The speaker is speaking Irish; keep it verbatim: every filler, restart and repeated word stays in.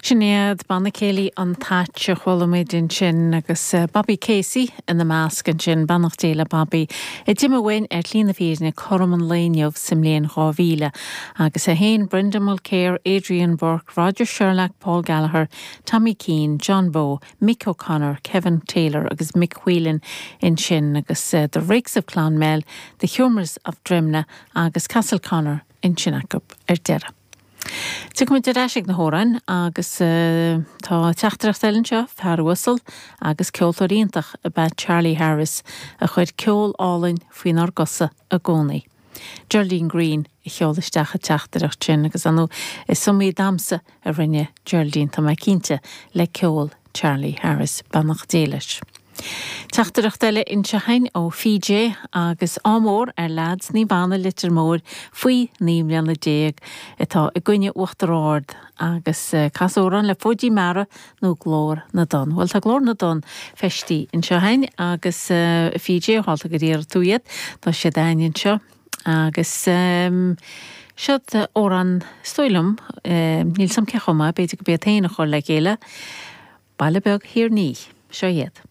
Sin iad Banna Céilí an Thatch a chuala muid ansin agus Bobby Casey ina measc ansin beannacht Dé le Bobby. A d'imigh uainn ar shlí na fírinne cothrom an lae inniu sa mbliain dhá mhíle agus é féin Brendan Mulkere, Adrian Burke, Roger Sherlock, Paul Gallagher, Tommy Keane, John Bowe, Mick O'Connor, Kevin Taylor agus Mick Whelan ansin agus uh, The Rakes of Clonmel, The Humours of Drimnagh agus Castle Connor ansin acu ar deireadh. Tiocfaimid ar ais ag na hamhráin agus uh, tá teachtaireacht eile anseo fear uasal agus ceoltóir iontach ab ea Charlie Harris a chuir ceol álainn faoinár gcosa i gcónaí. Geraldine Green a sheol isteach an teachtaireacht sin agus anu is iomaí damhsa a rinne Geraldine tá mé cinnte le ceol Charlie Harris beannacht Dé leis. Teachtaireacht eile anseo againn ó PJ agus ádh mór ar leaids Naomh Anna Leitir Móir faoi naoi mbliana déag atá i gcoinne Uachtar Ard agus eh, cas amhrán le Fóidín Meara nó Glór na dTonn. Well tá Glór na dTonn feistithe anseo againn agus uh, PJ tharla gur iarr tú iad tá siad againn anseo agus um, Siod amhrán is dóigh liom um, níl 'fhios a'm cé chuma b'fhéidir go b'iad féin a chur le chéile, Baile Beag Thír Ní, seo iad.